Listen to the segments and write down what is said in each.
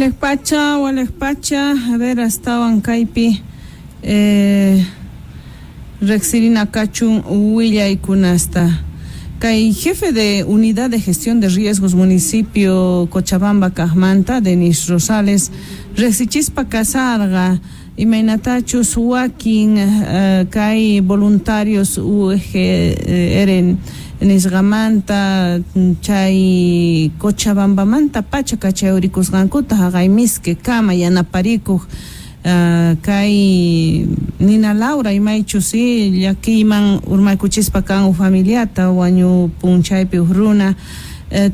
Walej pacha, a ver, astawan kaypi riqsirina kachun willaykunasta. Kay jefe de Unidad de Gestión de Riesgos municipio Cochabamba kaqmanta, Denis Rosales, riqsichispa kasarqa imaynatachus wakin kay voluntarios UGR nisqamanta chay Cochabambamanta pacha kachayurikusqankuta haqay Mizque kama yanaparikuq kay Nina Laura imaychus llakiyman urmaykuchispa kan uj familiata wañupun chaypi uj runa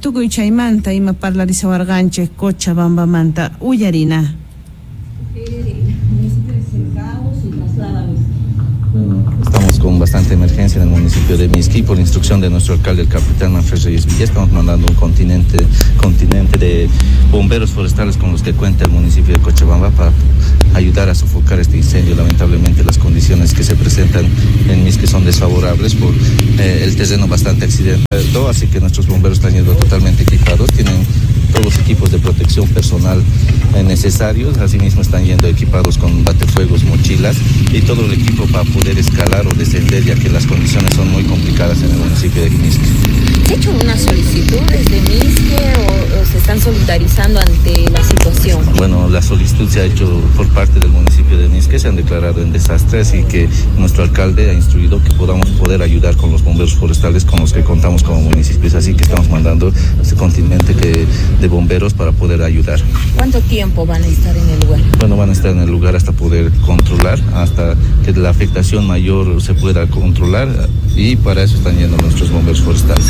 tukuy chaymanta ima parlarisawarqanchik Cochabambamanta uyarina. Estamos con bastante emergencia en el municipio de Mizque y por instrucción de nuestro alcalde, el capitán Manfred Reyes Villa, estamos mandando un continente de bomberos forestales con los que cuenta el municipio de Cochabamba para ayudar a sofocar este incendio. Lamentablemente las condiciones que se presentan en Mizque son desfavorables por el terreno bastante accidentado, así que nuestros bomberos están yendo totalmente equipados, tienen todos los equipos de protección personal necesarios, asimismo están yendo equipados con batefuegos, mochilas y todo el equipo para poder escalar o descender, ya que las condiciones son muy complicadas en el municipio de Mizque. ¿Se ha hecho una solicitud desde Mizque o se están solidarizando ante la situación? Bueno, la solicitud se ha hecho por parte del municipio de Mizque, se han declarado en desastre, así que nuestro alcalde ha instruido que podamos poder ayudar con los bomberos forestales con los que contamos como municipios, así que estamos mandando este contingente de bomberos para poder ayudar. ¿Cuánto tiempo van a estar en el lugar? Bueno, van a estar en el lugar hasta poder controlar, hasta que la afectación mayor se pueda controlar, y para eso están yendo nuestros bomberos forestales.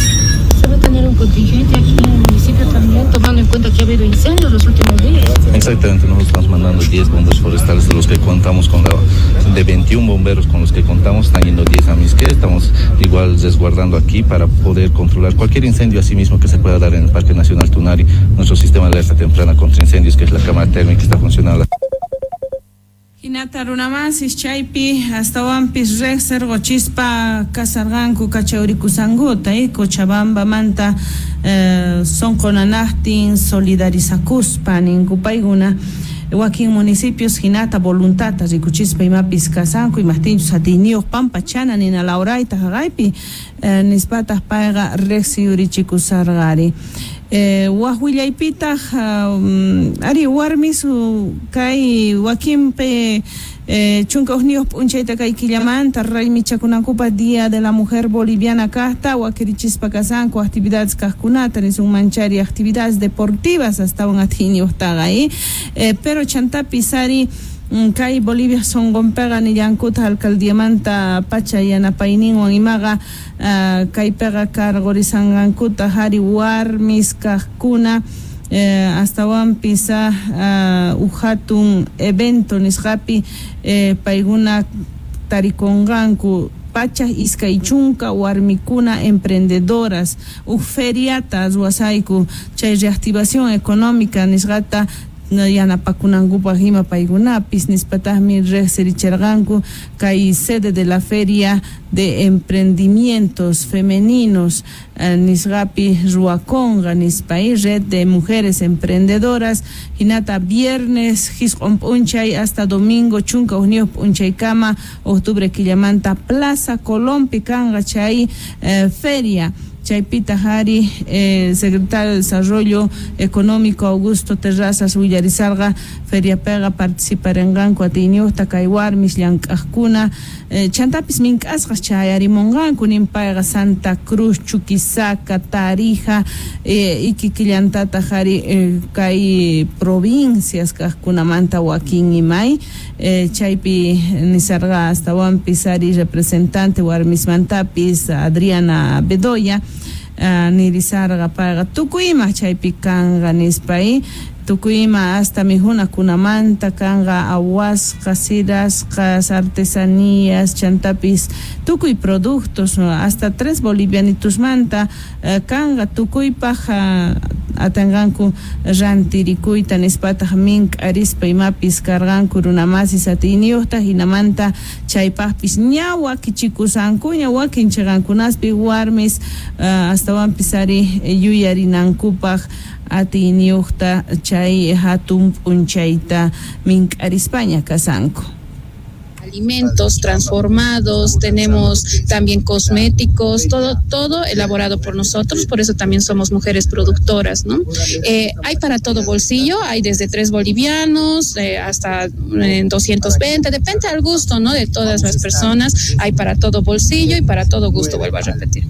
¿Se va a tener un contingente aquí en el municipio también, tomando en cuenta que ha habido incendios los últimos días? Exactamente, nosotros estamos mandando 10 bomberos forestales de los que contamos con de 21 bomberos con los que contamos, están yendo 10 a Mizque, estamos igual resguardando aquí para poder controlar cualquier incendio asimismo que se pueda dar en el Parque Nacional Tunari. Nuestro sistema de alerta temprana contra incendios, que es la cámara térmica, está funcionando. Hinata runamasis chaypi astawanpis riqsirquchispa kasarqanku kachawrikusankuta Cochabambamanta sonqonanaqtin solidarizakuspa ninku paykuna wakin municipios hinata voluntata rikuchispa imapis kasanku imaqtinchus atiyniyuq pampachana nina Laurayta haqaypi nispataq payqa riqsiyurichikusarqari. Waq willaypitaq ari warmis kay wakinpi chunka hukniyuq p'unchayta kay killamanta raymichakunankupaq Día de la Mujer Boliviana kaqta wakirichispa kasanku actividades kaqkunata nisun manchari actividades deportivas astawan atiyniyuqtaqa pero chantapis ari kay Bolivia sonqonpiqa nillankuta alcaldiamanta pacha yanapayninwan imaqa kaypiqa karqurisanqankuta hari warmis kaqkuna astawanpis uj hatun evento nisqapi paykuna tarikunqanku pachak iskay chunka warmikuna emprendedoras uj feriata ruwasayku chay reactivación económica nisqata yanapakunankupaq ima paykunapis nispataqmi riqsirichirqanku kay sede de la feria de emprendimientos femeninos nisqapi ruwakunqa nispa red de mujeres emprendedoras hinata viernes hisq'un p'unchay hasta domingo chunka hukniyuq p'unchaykama octubre killamanta Plaza Colompi kanqa chay feria. Chaypita hari secretario de Desarrollo Económico Augusto Terrazas willarisarqa feriapiqa participarinqanku atiyniyuqta kay warmis llank'aqkuna chantapis mink'asqas chayarimunqanku nin payqa Santa Cruz, Chuquisaca, Tarija ikikillantataq hari kay provincias kaqkunamanta wakin imay chaypi nisarqa astawanpis hari representante warmismantapis Adriana Bedoya nirisarqa payqa tukuy ima chaypi kanqa nispa tukuy ima hasta mihunakunamanta kanqa awasqa, sirasqas, artesanías, chantapis tukuy productos hasta 3 bolivianitusmanta kanqa tukuypaq atanqanku rantirikuyta nispataq mink'arispa imapis karqanku runamasis atiyniyuqta hinamanta chaypaqpis ña wakichikusankuña wakin chiqankunaspi warmis astawanpis ari yuyarinankupaq atiyniyuqta chay hatun p'unchayta mink'arispaña kasanku. Alimentos transformados, tenemos también cosméticos, todo elaborado por nosotros, por eso también somos mujeres productoras, ¿no? Hay para todo bolsillo, hay desde 3 bolivianos hasta 220, depende al gusto, ¿no? De todas las personas, hay para todo bolsillo y para todo gusto, vuelvo a repetir.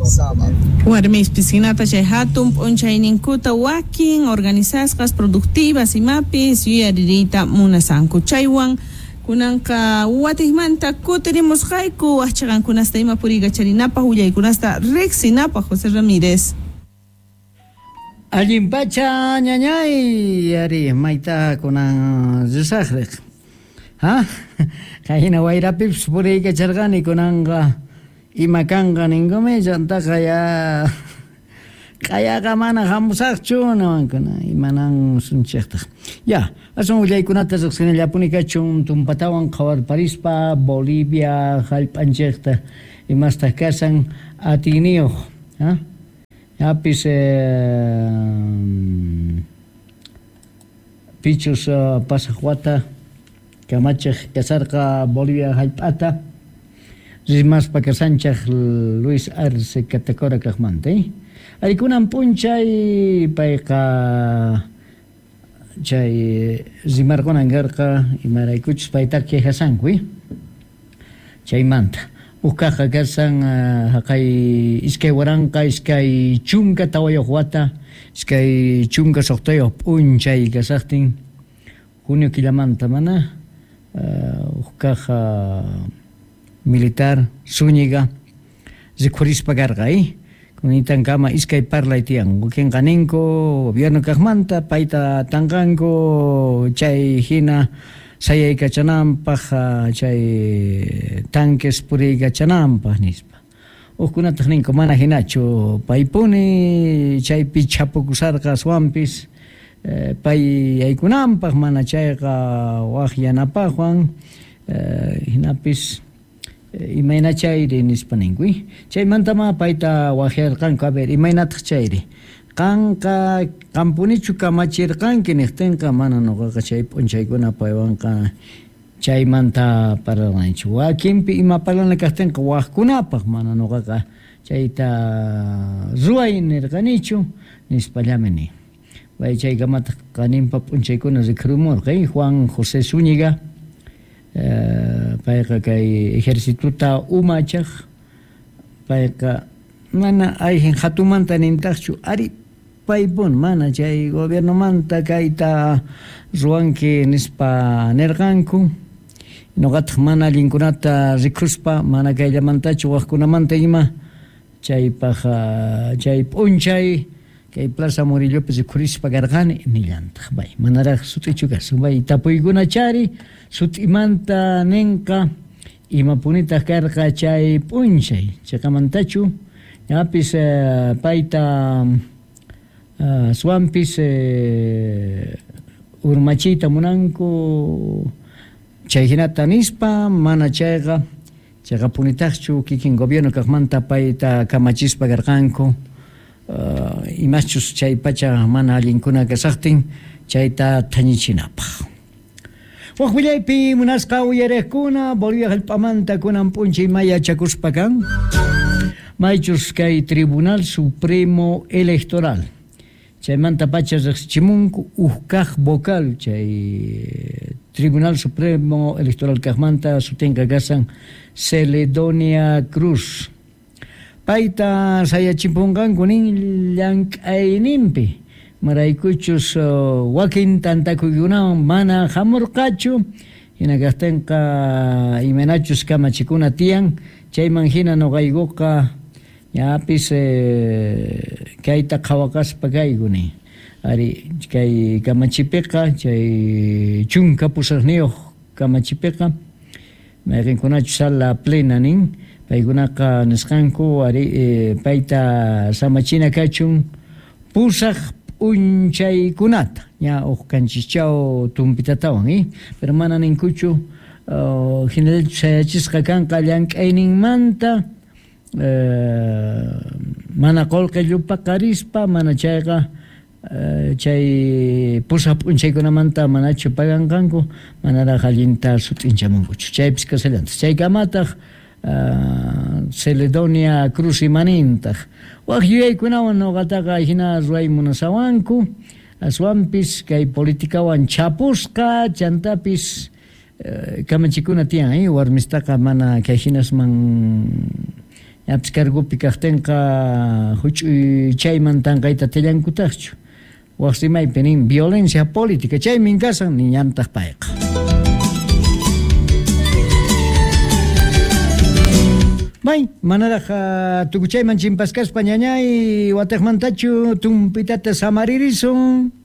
Warmis piscinata chay hatun p'unchayninkuta wakin organizasqas productivas imapis yuyaririyta munasanku chaywan kunanqa watikmanta kutirimusqayku waqchaqankunasta ima puriykacharinapaq willaykunasta riqsinapaq. José Ramírez. Allin pacha ñañay ari mayta kunan risaqriq ha qayna wayrapipis puriykacharqani kunanqa ima kanqa ninkumi chantaqa ya q'ayaqa mana hamusaqchu nawankuna imanan sunchiqtaq ya asun willaykunata riqsinallapuni kachun tumpatawan qhawarparispa Bolivia hallp'anchikta imastaq kasan atiyniyuq ha yapis pichus pasaq wata kamachiq kasarqa Bolivia hallp'ata rimaspa kasanchaq Luis Arce Catacora kaqmanta Arikunan p'unchay payqa chay rimarqunan karqa imaraykuchus paytaqa quejasanku chaymanta uqkaqa kasan haqay 2024 wata 26 p'unchay kasaqtin junio killamanta mana uqkaqa militar Zúñiga rikhurispa karqa Kunitan kama iskay parlay tiyan wakinqa ninku gobierno kaqmanta payta tanqanku chay hina sayaykachananpaq chay tanques puriykachananpaq nispa hukkunataq ninku mana hinachu paypuni chaypi chapukusarqa aswanpis pay yaykunanpaq mana chayqa waq yanapaqwan hinapis imayna chayri nispa ninku chaymantama payta waqyarqanku a ver imaynataq chayri qanqa qampunichu kamachirqanki niqtinqa mana nuqaqa chay p'unchaykuna paywanqa chaymanta parlanchu wakinpi ima parlana kaqtinqa waqkunapaq mana nuqaqa chayta ruway nirqanichu nispallami nin pay chaykamataq qaninpa p'unchaykuna rikhurumurqa Juan José Zúñiga payqa kay ejercituta umachaq payqa mana ayjin hatumanta nintaqchu ari paypun mana chay gobiernomanta kayta ruwanki nispa nirqanku nuqataq mana allinkunata rikuspa mana kayllamantachu waqkunamanta ima chaypaq chay p'unchay kay Plaza Murillopi rikhurispa karqani nillantaq bay manaraq sut'ichu kasun bay tapuykuna chari sut'imanta ninqa imapunitaq karqa chay p'unchay chayqamantachu ñapis payta aswanpis urmachiyta munanku chay hinata nispa mana chayqa chayqapunitaqchu kikin gobierno kaqmanta payta kamachispa karqanku imaschus chay pacha mana allinkuna kasaqtin chayta thañichinapaq. Waq willaypi munasqa uyariqkuna Bolivia hallp'amanta kunan p'unchay may yachakuspa kan maychus kay Tribunal Supremo Electoral chaymanta pacha riqsichimunku huk kaq vocal chay Tribunal Supremo Electoral kaqmanta sutinqa kasan Celedonia Cruz payta sayachipunqanku nin llank'ayninpi maraykuchus wakin tantakuykunawan mana hamurqachu hina kaqtinqa imaynachus kamachikuna tiyan chayman hina nuqaykuqa ñapis kayta qhawaqaspa kayku nin ari kay kamachipiqa chay 18 kamachipiqa mayqinkunachus sala plena nin paykunaqa nisqanku ari payta samachina kachun pusaq p'unchaykunata ña huk kanchischaw tumpitatawan pero mana ninkuchu hinallachu sayachisqa kanqa llank'ayninmanta mana qullqi llupaqarispa mana chayqa Chay pusaq p'unchaykunamanta manachu paganqanku, manaraq allinta sut'inchamunkuchu. Chaypis kasallantaq. Chaykamataq Celedonia Cruz imanintaq. Wak yuyaykunawan nuqataqa hina ruway munasawanku, aswanpis kay politikawan chapusqa, chantapis kamachikuna tiyan, warmistaqa mana kay hinasman ñapis cargopi kaqtinqa huch'uy chayman tanqayta tillankutaqchu. Wak rimaypi nin violencia política, chaymin kasan niñantaq payqa. May, manaraq tukuchayman chimpaskaspa ñañay watiqmantachu tumpitata samaririsun.